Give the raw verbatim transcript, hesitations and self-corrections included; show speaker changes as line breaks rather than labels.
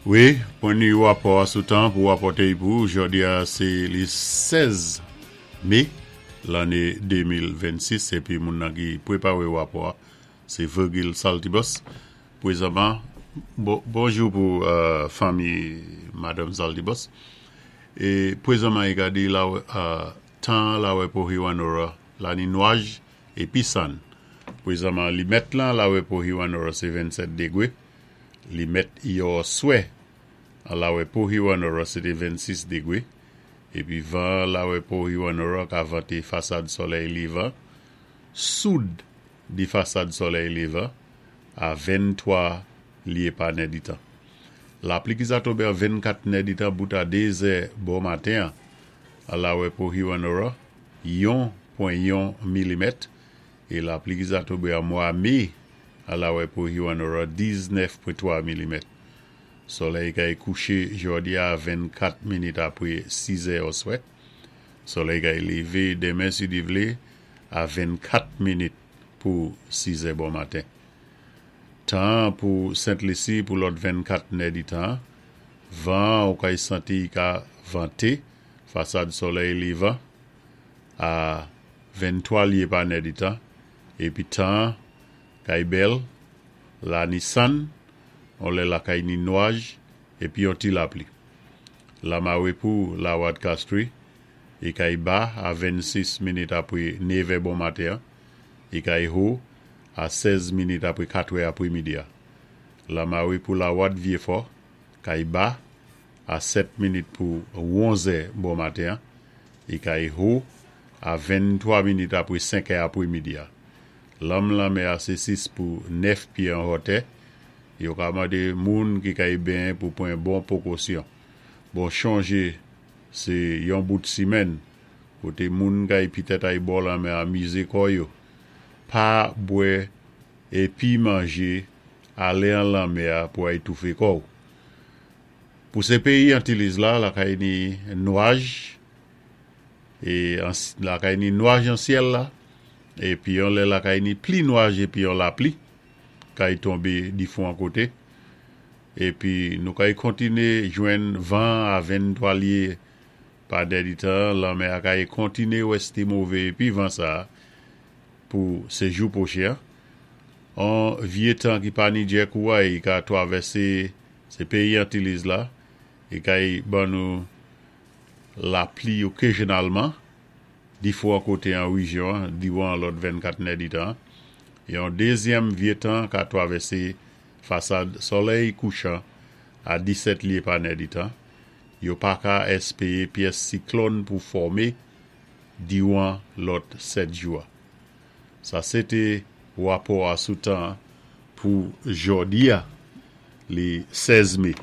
Wi, pwen ni wapò a sou tan pou wapòté pou jòdi a sé li sèz mé lanné de mil vennsis épi moun nan ki pwépawé wapò a sé Virgil Saltibus. Pwézanman, bon, bonjou pou euh, fanmi Madanm Saltibus. É pwézanman i ka di la euh, tan lawè pou Hewanorra la ni nwaj épi sann. Pwézanman li mèt lan lawè pou Hewanorra sé vennsèt dégwé. Li mèt yèoswè an lawè pou Hewanorra sé té vennsis dégwé. Épi van lawè pou Hewanorra ka vanté fasad solèy lévan, soud di fasad solèy lévan a venntwa lyé pa nèditan. Lapli ki sa tonbé an vennkat nèditan bout a dézè bon maten an lawè pou Hewanorra, yon pwen yon milimèt é lapli ki sa tonbé an mwa mé an lawè pou Hewanorra, diznèf pwen twa milimèt. Solèy kay kouché jòdi a vennkat minit apwé sis è oswè. Solèy kay lévé denmen si Djé vlé a vennkat minit pou sis è bon maten. Tan pou Sent Lisi pou lòt vennkat nèditan, van ou kay santi ka vanté fasad solèy lévan a venntwa lyé pa nèditan épi tan kay bèl la ni sann, on lè la kay ni nwaj épi yon ti lapli. Lamawé pou Lawad Castries, i kay ba a vennsis minit apwé nevè bon maten, i kay ho a sèz minit apwé katwè apwémidi a. Lamawé pou Lawad Vyéfò, kay ba a sèt minit pou onzè bon maten, i kay ho a venntwa minit apwé senkè apwémidi a. Lanm lanmè a sé sis pou nèf pyé an wotè, yo ka mandé moun ki kay benyen pou pwan bon pwékosyon. Bon, chonjé sé yon bout simèn koté moun kay pitèt ay bò lanmè amizé kò yo. Pa bwè épi manjé alé an lanmè a pou ay toufé kò ou. Pou sé péyi Antiliz la, lakay ni nwaj é lakay ni nwaj an syèl la épi yon lè lakay ni pli nwaj épi yon lapli kay tonbé difwan koté épi nou kay kontiné jwenn van a venntwa lyé pa nèditan. Lanmè a kay kontiné wèsté mové épi van sa pou sé jou pwochen. An vyé tan ki pa ni djè kouway ka twavèsé sé péyi Antiliz la é kay ban nou lapli okazyonalman difwan koté an wéjyon diwan lòt vennkat nèditan. Yon dézyèm vyé tan ka twavèsé fasad solèy kouchan a disèt lyé pa nèditan. Yo pa ka èspéwé pyès siklòn pou fòmé diwan lòt sèt jou a. Sa sé té wapò a sou tan pou jòdi a, li sèz mé.